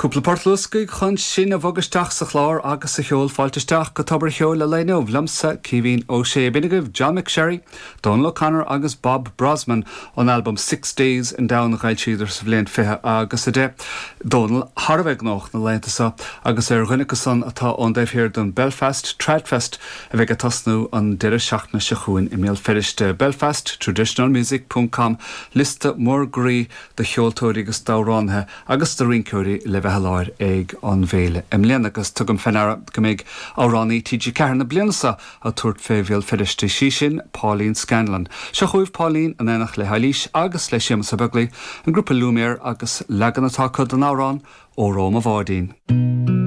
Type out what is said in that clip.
Cúpla port luascaigh chun sinn a bhogadh isteach sa chlár agus sa cheol. Fáilte isteach go Tobar a' Cheoil an lae inniu liomsa, Caoimhín Ó Sé. B'in agaibh John McSherry, Dónal O'Connor agus Bob Brozman ón albam Six Days in Down a d'fhoilsíodar sa bhliain 20 agus 10. Dónal thar a bheith gnóthach na laethanta seo agus ar dhuine acu san atá ón dtaobh thiar den Belfast Tradfest a bheidh ag tosnú an deireadh seachtaine seo chugainn i mBéal Feirste. Belfast Traditional Music ponc com Liosta mór groí de cheoltóirí agus d'amhránaithe agus de rinceoirí le bheith i láthair ag an bhféile i mbliana agus tugaim fé ndeara go mbeidh amhránaí TG4 na bliana seo ag tabhairt fé Bhéal Feirste, sí sin Pauline Scanlon. Seo chugaibh Pauline in éineacht le hEilís agus le Séamus Ó Beaglaoi, an grúpa Lumière agus leagan atá acu den amhrán Óró Mo Bháidín.